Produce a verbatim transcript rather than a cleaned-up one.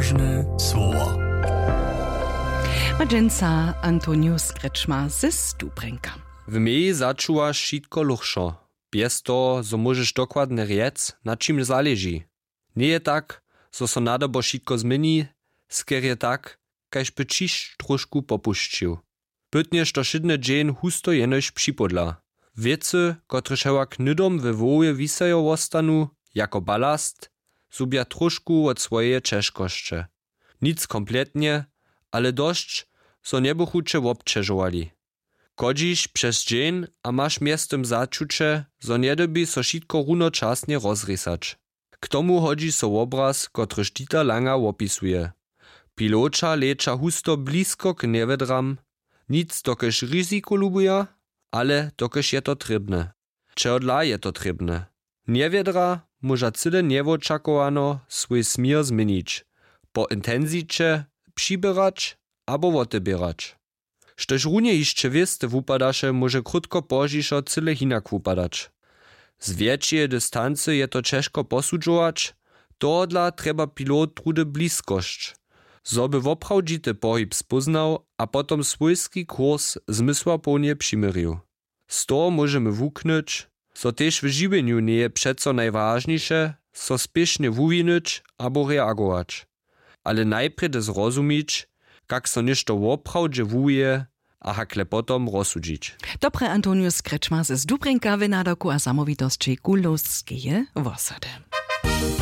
Słowo. Ma dźensa Antonius Kretschmer ze Stubrenka. W meji začuwaš wšitko lóchšo, bjez toho zo móžeš dokładnje rjec, na čim zaleži. Njeje tak, zo so nadobo wšitko změni, skerje tak, kaž by ćišć tróšku popušćił. Pytnje što wšědny dźeń husto jenož připodla. Wěcy, kotrež hewak hnydom we hłowje wisajo wostanu jako balast, zhubja tróšku wot swojeje ćežkosće. Nic kompletnje, ale dosć, zo njebychu će wobćežowali. Chodźiš přez dźeń a maš mjeztym začuće, zo njedyrbješ so wšitko runočasnje rozrěsać. K tomu hodźi so wobraz, kotryž dita langa wopisuje. Piloća leća husto blisko k njewjedram. Nic dokelž riziko lubuja, ale dokelž je to trěbne. Čehodla je to trěbne? Njewjedra móža cyle njewočakowano swój směr změnić, po intensiće přiběrać abo woteběrać. Štož runje hišće wěste wupadaše, móže krótko pozdźišo cyle hinak wupadać. Z wjetšeje distancy je to ćežko posudźować, tohodla trjeba pilot trudy bliskosć, zo by woprawdźity pohib spóznał a potom swójski kurs zmysłapołnje přiměrił. Z toho móžemy wuknyć, zo tež w žiwjenju njeje přeco najwažniše, so spěšnje wuwinyć abo reagować, ale najprjedy zrozumić, kak so něšto woprawdźe wuwije, a hakle potom rozsudźić. Dobre, Antonius Kretschmer z Dubrinka w nadawku a zamołwitosći Kulowskeje wosady.